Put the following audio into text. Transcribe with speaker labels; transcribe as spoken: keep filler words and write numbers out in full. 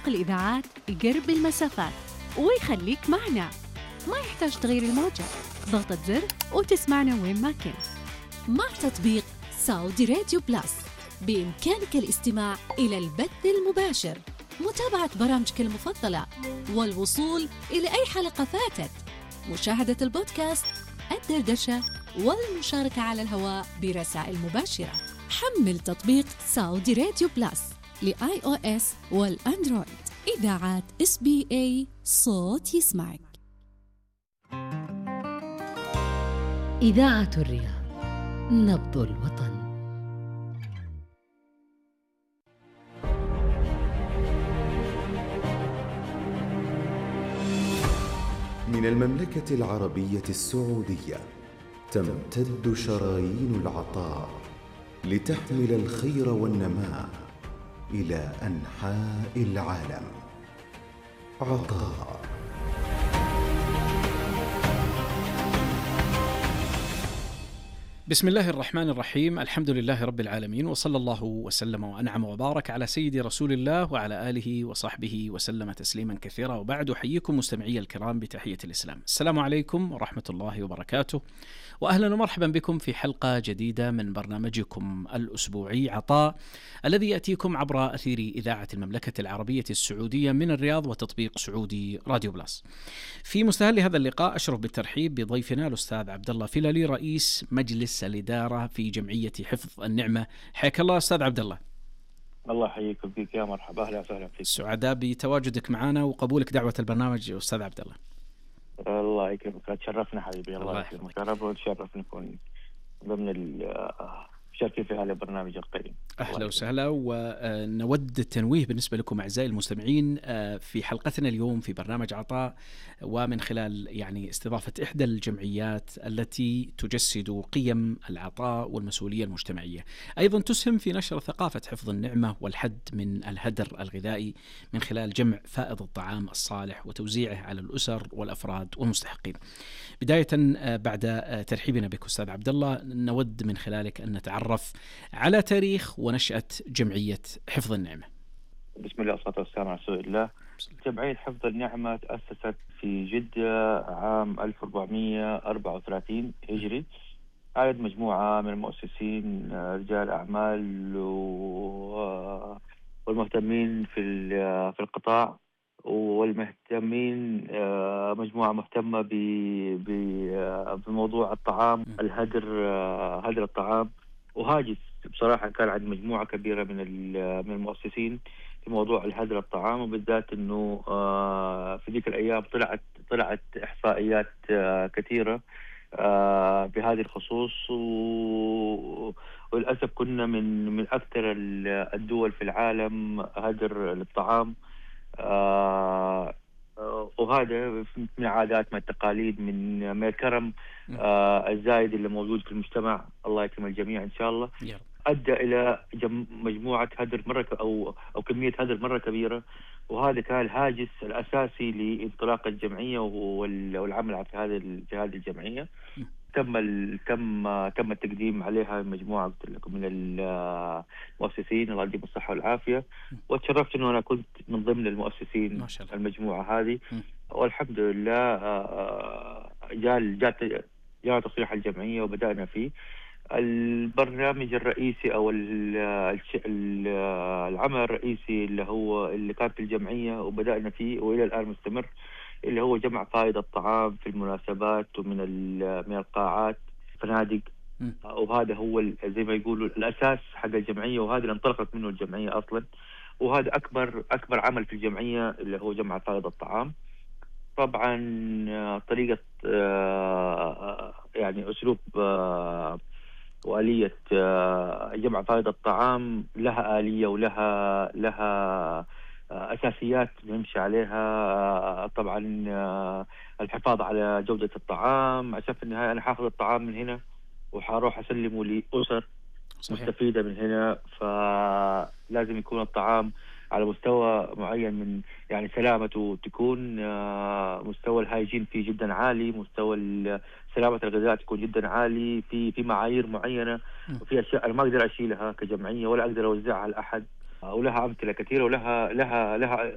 Speaker 1: تطبيق الإذاعات يقرب المسافات ويخليك معنا. ما يحتاج تغيير الموجة، ضغطة زر وتسمعنا وين ما كنت.
Speaker 2: مع تطبيق سعودي راديو بلاس بإمكانك الاستماع إلى البث المباشر، متابعة برامجك المفضلة، والوصول إلى أي حلقة فاتت، مشاهدة البودكاست، الدردشة، والمشاركة على الهواء برسائل مباشرة. حمل تطبيق سعودي راديو بلاس لآي أو إس والأندرويد. إذاعات إس بي إي، صوت يسمعك.
Speaker 3: إذاعة الرياض، نبض الوطن.
Speaker 4: من المملكة العربية السعودية تمتد شرايين العطاء لتحمل الخير والنماء إلى أنحاء العالم. عطاء.
Speaker 5: بسم الله الرحمن الرحيم، الحمد لله رب العالمين، وصلى الله وسلم وأنعم وبارك على سيدي رسول الله وعلى آله وصحبه وسلم تسليما كثيرا. وبعد، أحييكم مستمعي الكرام بتحية الإسلام. السلام عليكم ورحمة الله وبركاته، وأهلا ومرحبا بكم في حلقة جديدة من برنامجكم الأسبوعي عطاء، الذي يأتيكم عبر أثير إذاعة المملكة العربية السعودية من الرياض وتطبيق سعودي راديو بلاس. في مستهل هذا اللقاء أشرف بالترحيب بضيفنا الأستاذ عبد الله فيلالي، رئيس مجلس الإدارة في جمعية حفظ النعمة. حياك الله أستاذ عبد الله.
Speaker 6: الله يحييكم فيك يا مرحبا، أهلا وسهلا فيك.
Speaker 5: سعداء بتواجدك معنا وقبولك دعوة البرنامج أستاذ عبد الله.
Speaker 6: الله يكرمك، تشرفنا حبيبي. الله يكرمك، رب وتشرف نكون ضمن المشاركين في هذا البرنامج القيم.
Speaker 5: أهلا وسهلا. ونود التنويه بالنسبة لكم أعزائي المستمعين في حلقتنا اليوم في برنامج عطاء، ومن خلال يعني استضافة إحدى الجمعيات التي تجسد قيم العطاء والمسؤولية المجتمعية، أيضا تسهم في نشر ثقافة حفظ النعمة والحد من الهدر الغذائي من خلال جمع فائض الطعام الصالح وتوزيعه على الأسر والأفراد والمستحقين. بداية بعد ترحيبنا بك أستاذ عبد الله، نود من خلالك أن نتعرف على تاريخ ونشأة جمعية حفظ النعمة.
Speaker 6: بسم الله والصلاة والسلام على رسول الله. جمعية حفظ النعمة تأسست في جدة عام ألف وأربعمائة وأربعة وثلاثين هجري. عدد مجموعة من المؤسسين، رجال أعمال والمهتمين في في القطاع، والمهتمين مجموعة مهتمة بموضوع الطعام، الهدر، هدر الطعام. وهاجس بصراحة كان عند مجموعة كبيرة من من المؤسسين في موضوع الهدر الطعام، وبالذات إنه في ذيك الأيام طلعت طلعت إحصائيات كثيرة بهذه الخصوص، وللأسف كنا من من أكثر الدول في العالم هدر للطعام. آه وهذا من عادات، من التقاليد، من من الكرم آه الزايد اللي موجود في المجتمع، الله يكرم الجميع إن شاء الله، أدى إلى مجموعة هدر مرة أو أو كمية هدر مرة كبيرة. وهذا كان الهاجس الأساسي لانطلاق الجمعية والعمل في هذه في هذه الجمعية. تم تم تم التقديم عليها مجموعة من المؤسسين، الله يديم الصحة والعافية، وتشرفت إنه أنا كنت من ضمن المؤسسين المجموعة هذه. والحمد لله جاء جاء جاء تصريح الجمعية وبدأنا فيه. البرنامج الرئيسي أو العمل الرئيسي اللي هو اللي كان في الجمعية وبدأنا فيه وإلى الآن مستمر، اللي هو جمع فائض الطعام في المناسبات ومن من القاعات، فنادق. وهذا هو زي ما يقولوا الأساس حق الجمعية، وهذا اللي انطلقت منه الجمعية أصلا. وهذا أكبر أكبر عمل في الجمعية اللي هو جمع فائض الطعام. طبعا طريقة يعني أسلوب وآلية جمع فائض الطعام لها آلية ولها لها أساسيات نمشي عليها. طبعا الحفاظ على جودة الطعام، عشان في النهاية أنا حاخذ الطعام من هنا وحاروح أسلمه لأسر مستفيدة من هنا، فلازم يكون الطعام على مستوى معين من يعني سلامته تكون مستوى الهايجين فيه جدا عالي، مستوى سلامة الغذاء تكون جدا عالي، في في معايير معينة، وفي أشياء أنا ما أقدر أشيلها كجمعية ولا أقدر أوزعها لأحد. ولها أمثلة كثيرة ولها لها لها